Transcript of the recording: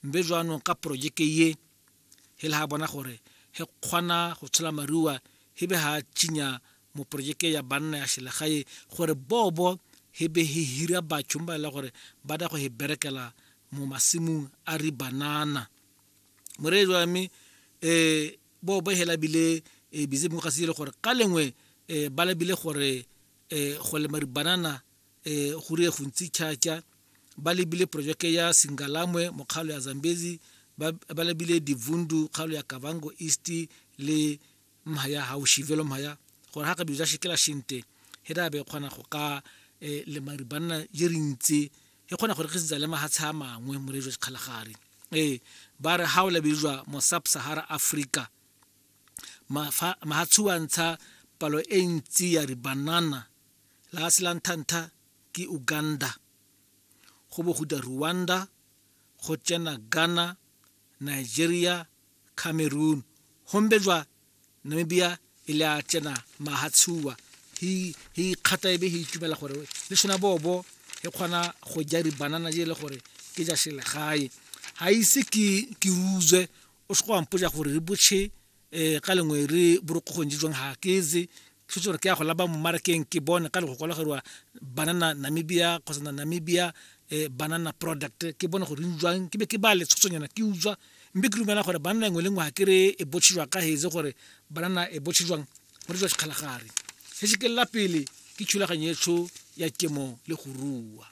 Mbe jwanong ka porojeke ye he le ha bona gore he kgona go tshola marua he be ha tšinya mo porojeke ya banna ya selegae gore bobo he be he hira batho ba le gore ba da go he berekela mo masimong a ri banana. Moreetsi wa me bobo he labile busy mo ga se le gore ka lengwe ba labile gore go lema dibanana go rie go ntsi tšhatša. Ba lebile projeke ya Singalamwe mo kgaolo ya Zambezi, ba lebile Divundu kgaolo ya Kavango East le mhaya Haushivelo mhaya gore ga ka bija shikela shinte he da be kgona go ka lema dibanana je re ntse he kgona go rekisetsa le mahatshe a mangwe morejo Kgalagadi. Ba re ha o lebijwa mo Sub-Sahara Africa mahatshe wa ntsha palo e ntsi ya dibanana la se la nthantha ke Uganda, go bo go da Rwanda, go tsena Ghana, Nigeria, Cameroon, gombe jwa Namibia e le a tsena mahatshuwa hi hi kgata ebe hi itumela gore le sona bobo e kgona go ja dibanana je le gore ke ja selegae. Ha ise ke ruzwe o se go ampoja gore re botšhe ka lengwe re borokgong je jwang ha ke ze ke gore ke ya go laba mo marakeng ke bone ka le go kwalageriwa banana Namibia kgotsa na Namibia banana product ke bone gore jwang ke be ke ba le tshotsonyana ke utswa mme ke dumela gore banana engwe le nngwe ha ke re e botšhe ka heze gore banana e botšhe jwang mo re jwa Sekgalagadi. Se se kelela pele ke thulaganyo etsho ya kemo le go rua.